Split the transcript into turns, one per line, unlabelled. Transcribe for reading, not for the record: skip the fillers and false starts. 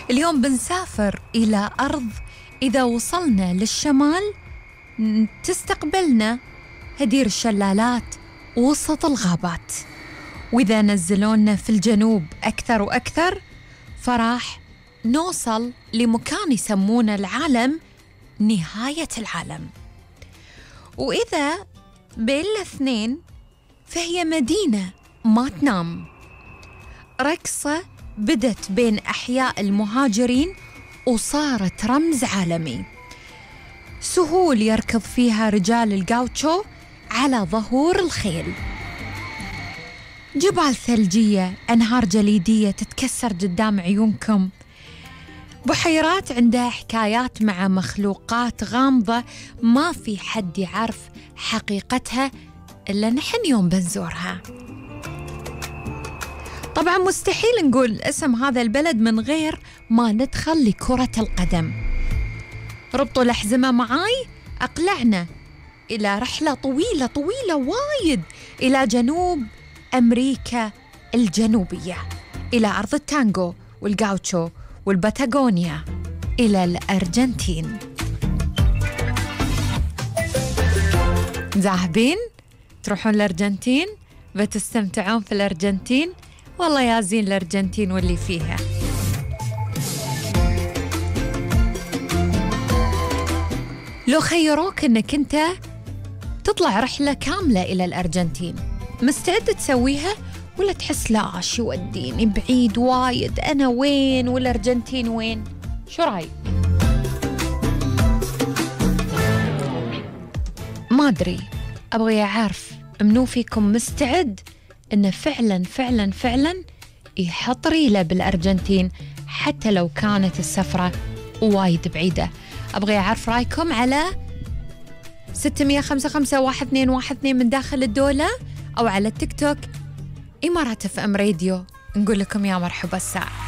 اليوم بنسافر إلى أرض إذا وصلنا للشمال تستقبلنا هدير الشلالات وسط الغابات، وإذا نزلونا في الجنوب أكثر وأكثر فراح نوصل لمكان يسمونه العالم نهاية العالم. وإذا بين الاثنين فهي مدينة ما تنام، رقصة بدت بين أحياء المهاجرين وصارت رمز عالمي، سهول يركض فيها رجال الجاوتشو على ظهور الخيل، جبال ثلجية، أنهار جليدية تتكسر قدام عيونكم، بحيرات عندها حكايات مع مخلوقات غامضة ما في حد يعرف حقيقتها إلا نحن يوم بنزورها. طبعا مستحيل نقول اسم هذا البلد من غير ما ندخل لكرة القدم. ربطوا الأحزمة معاي، أقلعنا إلى رحلة طويلة طويلة وايد إلى جنوب أمريكا الجنوبية، إلى أرض التانغو والجاوتشو والباتاغونيا، إلى الأرجنتين. ذاهبين تروحون الأرجنتين؟ بتستمتعون في الأرجنتين؟ والله يا زين الأرجنتين واللي فيها. لو خيروك أنك أنت تطلع رحلة كاملة إلى الأرجنتين، مستعد تسويها ولا تحس لا شو وديني بعيد وايد، أنا وين والأرجنتين وين؟ شو رأيك؟ ما أدري، أبغي أعرف منو فيكم مستعد إنه فعلاً فعلاً فعلاً يحط ريله بالأرجنتين حتى لو كانت السفرة وايد بعيدة. أبغي أعرف رأيكم على 655-1212 من داخل الدولة، أو على التيك توك إمارات FM راديو. نقول لكم يا مرحبا الساعة.